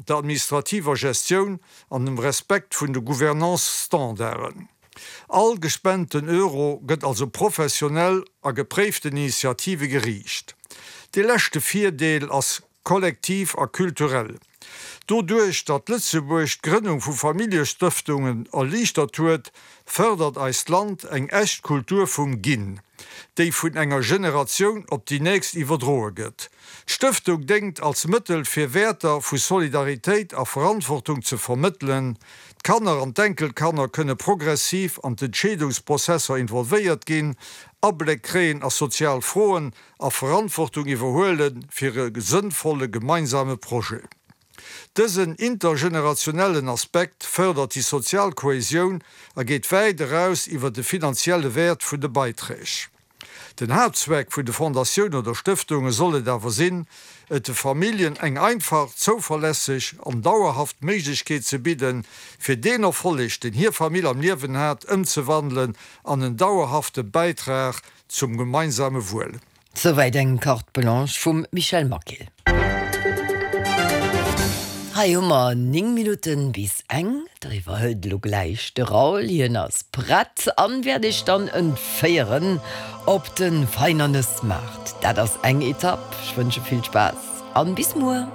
der administrativer Gestioun an dem Respekt vun de Gouvernance-Standarden. All gespenten Euro gëtt also professionell a gepréiften Initiative geriicht. Dee leschte Virdeel ass kollektiv a kulturell. Doduerch, datt Lëtzebuerg d'Grënnung vu Familljestëftungen erliichtert huet, fërdert eist Land eng echt Kultur vum Ginn, déi vun enger Generatioun op déi nächst iwwerdroe gëtt. D'Stëftung déngt als Mëttel fir Wäerter vu Solidaritéit a Verantwortung ze vermëttelen. D'Kanner an d'Enkelkanner kënne progressiv an d'Entscheedungsprozesser involvéiert ginn, Abléck kréien a sozial Froen a Verantwortung iwwerhuele fir e sënnvolle gemeinsame Projet. Dësen intergenerationellen Aspekt fërdert déi sozial Kohäsioun a geet wäit eraus iwwer de finanzielle Wäert vun de Beiträg. Den Haaptzweck vun de Fondatioune oder Stëftunge soll et awer sinn, et de Familljen eng einfach, zouverlässeg an dauerhaft Méiglechkeet ze bidden, fir deen Erfolleg, deen hir Famill am Liewen hat, ëmzewandelen an en dauerhafte Bäitrag zum gemeinsame Wuel. Souwäit eng Carte Blanche vum Michel Maquil. Hei hu mer 9 Minutten bis eng. Da iwwerhëlt elo gläich de Raoul. Hien ass prett an wäert iech dann entféieren op de Veinernesmaart. Dat ass eng Etapp. Ech wënsche vill Spaass an bis muer.